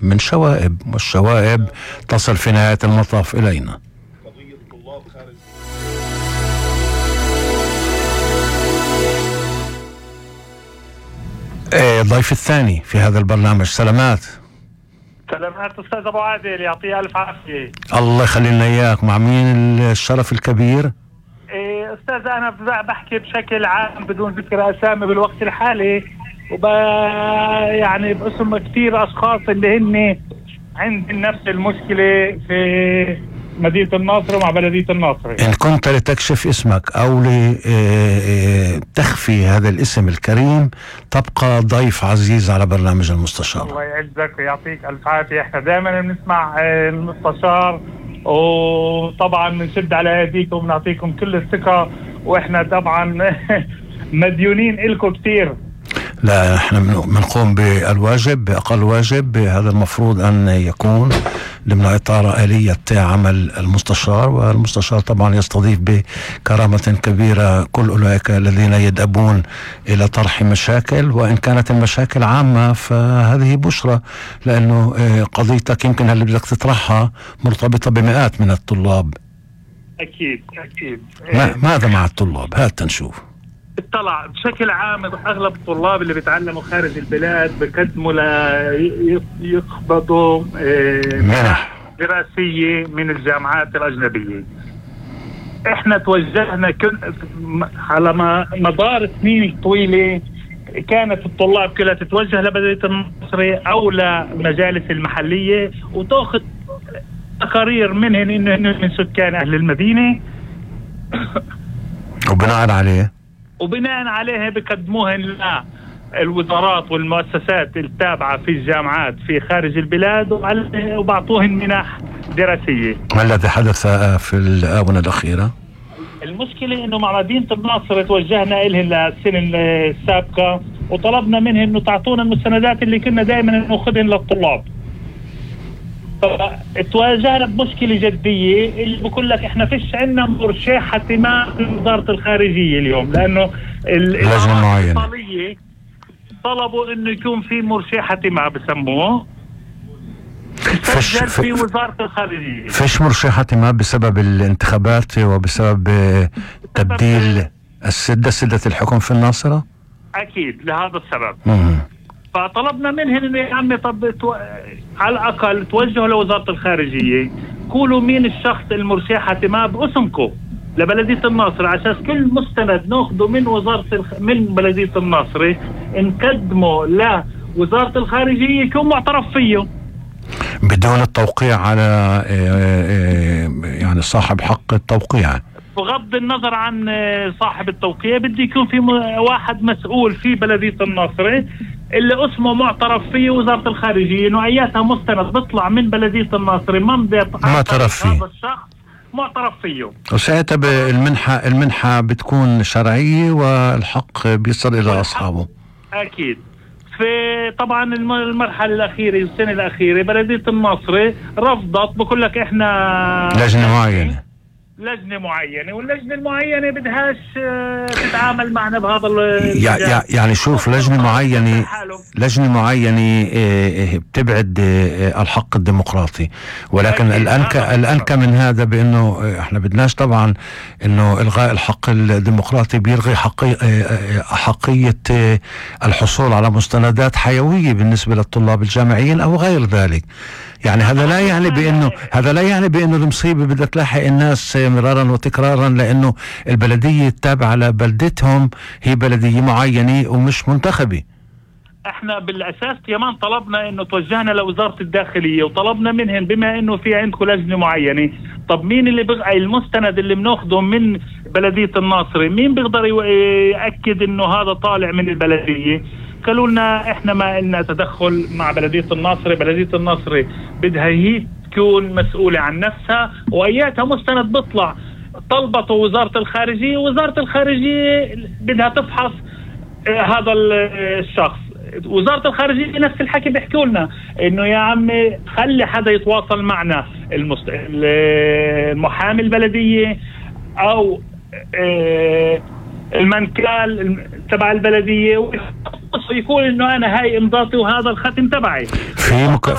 من شوائب، والشوائب تصل في نهاية المطاف إلينا. ضيف الثاني في هذا البرنامج. سلامات. سلامات أستاذ أبو عادل، يعطيه ألف عافية. الله يخلينا إياك. مع مين الشرف الكبير؟ أستاذ أنا بحكي بشكل عام بدون ذكر أسامي بالوقت الحالي، يعني باسم كثير أشخاص اللي هن عندهم نفس المشكلة في مدينة الناصر ومع بلدية الناصر. إن كنت لتكشف اسمك أو لتخفي هذا الاسم الكريم تبقى ضيف عزيز على برنامج المستشار. الله يعزك ويعطيك ألف عافية. احنا دائما بنسمع المستشار، وطبعا بنشد على ايديكم وبنعطيكم كل الثقة، واحنا طبعا مديونين إلكم كثير. لا، احنا بنقوم بالواجب بأقل واجب. هذا المفروض أن يكون ضمن إطار آلية عمل المستشار، والمستشار طبعا يستضيف بكرامة كبيرة كل أولئك الذين يدأبون إلى طرح مشاكل، وإن كانت المشاكل عامة فهذه بشرى، لأنه قضيتك يمكن اللي بدك تطرحها مرتبطة بمئات من الطلاب. أكيد أكيد. ماذا مع الطلاب؟ هات نشوف. اطلع بشكل عام اغلب الطلاب اللي بيتعلموا خارج البلاد بقدموا يقبضوا منح دراسيه من الجامعات الاجنبيه. احنا توجهنا على مدار سنين طويله كانت الطلاب كلها تتوجه لبلدية الناصر او لمجالس المحليه وتاخذ تقارير منهن انه من سكان اهل المدينه، وبناء عليها بقدموهن للوزارات والمؤسسات التابعة في الجامعات في خارج البلاد وبعطوهن منح دراسية. ما الذي حدث في الآونة الأخيرة؟ المشكلة إنه مع مدينة الناصر توجهنا إلهن للسنة السابقة وطلبنا منهن إنه تعطونا المستندات اللي كنا دائما نأخذهن للطلاب. فتواجهنا بمشكلة جدية اللي بقول لك احنا فيش عندنا مرشحة ما في وزارة الخارجية اليوم، لأنه الإيطالية طلبوا إنه يكون في مرشحة ما بسموه في وزارة الخارجية. فيش مرشحة ما بسبب الانتخابات وبسبب تبديل سدة الحكم في الناصرة؟ أكيد لهذا السبب. فطلبنا منهم انه يا عمي طب على الاقل توجهوا لوزاره الخارجيه، قولوا مين الشخص المرشح ما باسمكم لبلديه الناصر، عشان كل مستند ناخذه من بلديه الناصر نقدمه لوزاره الخارجيه يكون معترف فيه بدون التوقيع على يعني صاحب حق التوقيع. بغض النظر عن صاحب التوقيع بده يكون في واحد مسؤول في بلديه الناصر اللي اسمه معترف فيه وزارة الخارجية، انه اياتها مستند بيطلع من بلدية الناصر ممضي معترف فيه، هذا الشخص معترف فيه، وساعتها المنحة بتكون شرعية والحق بيصل الى اصحابه. اكيد. في طبعا المرحلة الأخيرة السنة الأخيرة بلدية الناصر رفضت، بقول لك احنا لجنة معينة واللجنة المعينة بدهاش تتعامل معنا بهذا يعني شوف لجنة معينة بتبعد الحق الديمقراطي، ولكن الأنكى من هذا بأنه احنا بدناش طبعا أنه إلغاء الحق الديمقراطي بيلغي حقية الحصول على مستندات حيوية بالنسبة للطلاب الجامعيين أو غير ذلك. يعني هذا لا يعني بأنه المصيبة بدها تلاحق الناس مرارا وتكرارا، لأنه البلدية التابعة لبلدتهم هي بلدية معينة ومش منتخبة. احنا بالأساس كمان طلبنا انه توجهنا لوزارة الداخلية وطلبنا منهم بما انه في عندكم لجنة معينة، طب مين اللي بقى المستند اللي بناخده من بلدية الناصر مين بيقدر يأكد انه هذا طالع من البلدية؟ قالوا لنا احنا ما لنا تدخل مع بلدية الناصر، بلدية الناصر بدها هي تكون مسؤولة عن نفسها واياتها مستند بيطلع طلبته وزارة الخارجية، وزارة الخارجية بدها تفحص هذا الشخص. وزارة الخارجية نفس الحكي بيحكوا لنا انه يا عمي خلي حدا يتواصل معنا، المحامي البلدية او المنكال تبع البلدية، ويقول انه انا هاي امضاتي وهذا الختم تبعي.